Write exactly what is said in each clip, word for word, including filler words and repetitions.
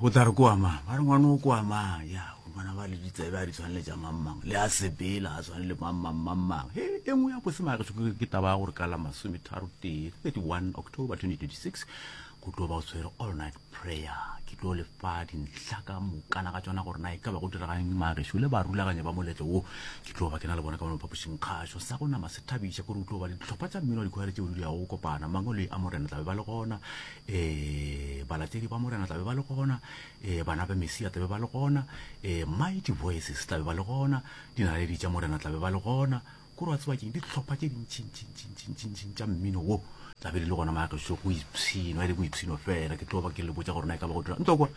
o tla re koa mang ba re ngwane o koa mang ya ngwana ba le ditsebe a di tshwane le tša mang le a sepela a tshwane le mang mang mang mang he e nngwe ya bosemageso ke taba ya gore ka la masometharo tee thirty-one October twenty twenty-six go tlo ba o tshwere all night prayer. Ke tlo le fa dintlha ka mokana ga tsona gore na e ka ba go diregang magešo le barulaganyi ba moletlo wo. Ke tlo ba ke na le bona ka mo phapošing kgašo sa go nama se thabiša kore o tlo ba dihlopha tša mmino wa dikhwaere tšeo di yago go kopana. Mangwele a Morena tlabe ba le gona, um balatedi ba Morena tlabe ba le gona, um bana ba Mesia tlabe ba le gona, um Mighty Voices tlabe ba le gona, dinaledi tša Morena tlabe ba le gona. Kore wa tseba keng, dihlopha tše dintšintšintšintšintšintši tša mmino wo tlabe di le gona magešo go ipshino, e le boipshino fela. Ke tlo ba ke le botša gore na e ka ba go dira ntlo kwa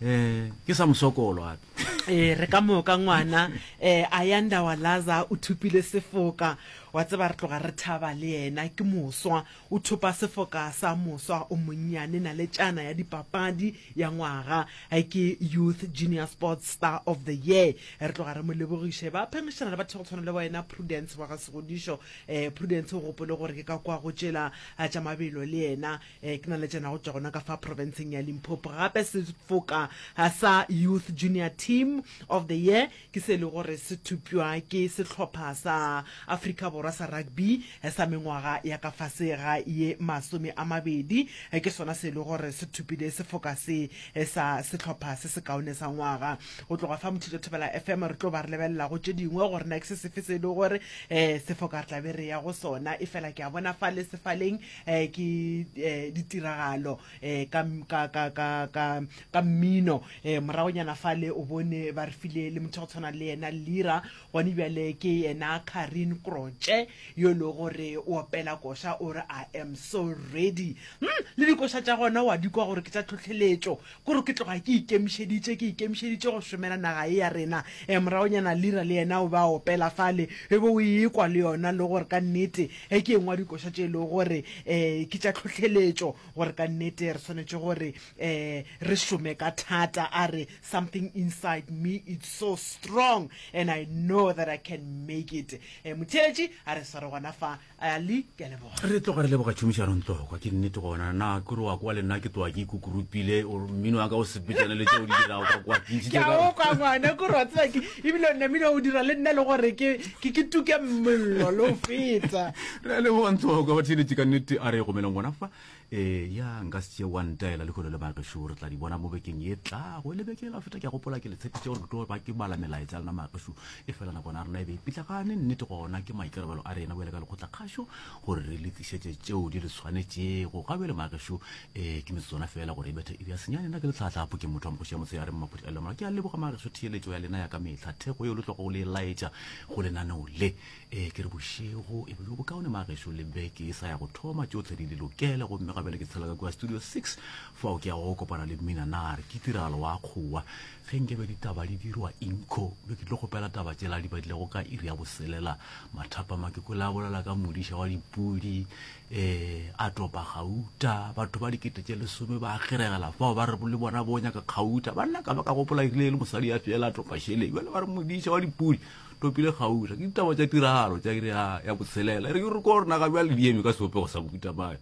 um ke sa mosokolo gape. Ee, re ka moka ngwana um Ayanda Walaza o thopile sefoka. Wa tseba re tloga re thaba le yena, ke moswa, o thopa sefoka sa moswa o monnyane naletšana ya dipapadi ya ngwaga, ke Youth Junior Sports Star of the Year. Re tloga re mo lebogiše. Ba phengišana le batho go tshwana le wena Prudence wa ga Segodišo. um Prudence o gopole gore ke ka kwa go tšela tša mabelo le yena, um ke naletšana go tšwa gona ka fa provinceng ya Limpopo. Gape sefoka sa Youth Junior Team of the Year ke se e le gore se thupjwa ke sehlopha sa Afrika Borwa sa rugby sa mengwaga ya ka fase ga ye masome a mabedi. Ke sona se e le gore se thupile sefoka se sa sehlopha se sekaone sa ngwaga. Go tloga fa Motšhitšo Thobela F M re tlo ba re lebelela go tše dingwe gore na ke se sefe se e le gore um sefoka re tla be re ya go sona. E fela ke a bona fa le sefaleng um ke um ditiragalo um ka, ka, ka, ka, ka, ka mmino. um moragonyana fale o bone ba re file le motho go tshwana le yena Lira, gone bjale ke yena Karin Kroche yo e le gore o opela koša o re I am so ready. Hmm, le dikoša tša gona wa di kwa gore ke tša tlhohleletšo, kore ke tloga ke ikemišeditše, ke ikemišeditše go šomela naga ye ya rena. um moragonyana Lira le yena o ba opela fale, e be o e kwa le yona le gore ka nnete e ke engwe ya dikoša tše e lego gore um ke tša tlhohleletšo, gore ka nnete re swanetše gore um re šome ka thata. A re something inside me it's so strong and I know that I can make it. um motheeletši a re sware gona fa. Ali, ke a leboga. Re tloga re leboga tšhomišano Ntlokwa, ke nnete gona na ke re wa kwa le nna ke tloga ke ikukurupile, mmino wa ka o sepetšane le tšeo di dirago ka kwa. Ke ntšhitše ka o kwa ngwana, ke re wa tseba ke ebile o namile o dira le nna le gore ke ke ke tuke mollo le o feta. Re a leboga Ntlokwa, batheeletši ka nnete a re gomeleng gona fa. E ya nka se tšee wa ntaela lehono le magešo, re tla di bona mo bekeng ye tlago. Le beke la feta ke a gopola ke le tshepišitše gore ke tlo ba ke bala melaetša ya lena magešo, e fela nakwana ya rena e be e pitlagane. Nnete gona ke maikarabelo a rena bjale ka lekgotlakgašo gore re le tlišetše tšeo di le swanetšego. Ga bjale magešo um ke metsotswana fela gore e bethe iri ya senyane. Nna ke letlhatlhapo, ke motho wa mokgoši ya motshegare Mmaphuti a Lemola. Ke a leboga magešo theeletšo ya lena ya ka mehla, thekgo yeo le tlogo le e laetša go lenaneo le. Ee, ke re bošego e be bjo bokaone magešo le beke e sa ya go thoma, tšohle di le lokele. Gomme gabjale ke tshela ka kua Studio six fao ke yago go kopana le Mmina Nare. Ke tiragalo wa kgowa ge nkebe ditaba di dirwa inko be ke tlo kgopela taba tšela di badilego ka iri ya boselela mathapama. Ke kwele a bolela ka modiša wa dipudi um a topa gauta, batho ba dikete tše lesome ba kgeregela fao ba re le bona bo nyaka kgauta. Banna ka ba ka gopola erile e le mosadi ya fela a topa šeleng, bjale ba re modiša wa dipudi topile kgauta. Ke ditaba tša tiragalo tša iri ya botshelela. E re ke re ko rena ga bjale di eme ka sebopego sa mohuta mang.